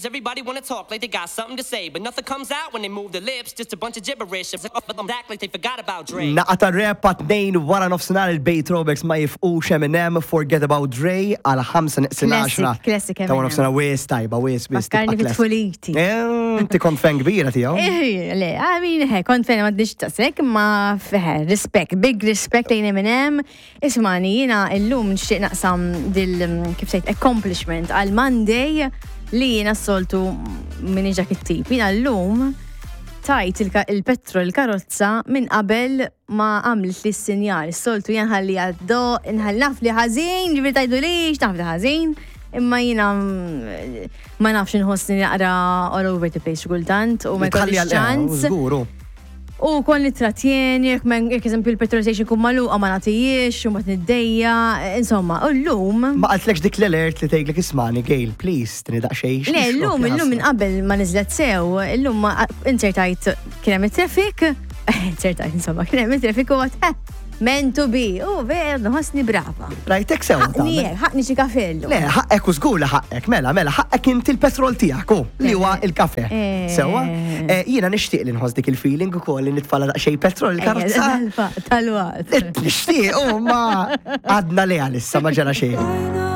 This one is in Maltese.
Nowadays, everybody wanna talk like they got something to say, but nothing comes out when they move their lips, just a bunch of gibberish. Act like they forgot about Dre. Naqa ta' rap għat 12:15 il-Bay Throwbacks ma jifqux Eminem, Forget About Dre għal 5 neqsin Classic, 10. classic Ta' wara Eminem. nofsinhar wis tajba, wis wis. Fakkarni tibqa' fit tfuliti. classic. Eh, Inti kont fan kbira tiegħu. Eh, Le, I mean, he, kont fejn ma d-dix tasek, ma feħe, respect, big respect lejn Eminem. Ismani, jina illum nixtieq naqsam dil, kif sejt, accomplishment għal Monday li jina s-soltu minni ġak it-tip. Jina l-lum tajt il-petrol il-karozza minn qabel ma għamlet li s-sinjal. S-soltu jien ħalli għaddo, nħalli naf li ħażin, ġifieri tajdu lix, naf li ħażin, imma jina ma nafx nħossni naqra all over the place xi kultant u ma Tħalli jkollix għal- eh, ċans. Żguru. U kon li tratjeni, jekk jekk eżempju il-petrol station kun magħluqa ma nagħtijiex u ma tniddejja, insomma, u llum. Ma qaltlekx dik l-alert li tgħidlek ismani, Gail, please, tini daqsxejn. Le, llum, illum minn qabel ma niżlet sew, illum ma insertajt kien hemm it-traffic, insertajt insomma, kien hemm it-traffic u għat, eh, meant to be, u ver, nħossni brava. Rajtek sew. Ħaqni tagħmel. hekk, ħaqni xi kafellu. Le, ħaqqek u żgur li ħaqqek, mela, mela, ħaqqek inti l-petrol tiegħek u li huwa il-kafe. Eh. Sewwa? Eh, Jiena nixtieq li nħoss dik il-feeling ukoll li nitfala daqsxejn petrol il-karozza. Tal-waqt. Nixtieq, u ma għadna li għalissa ma ġara xejn.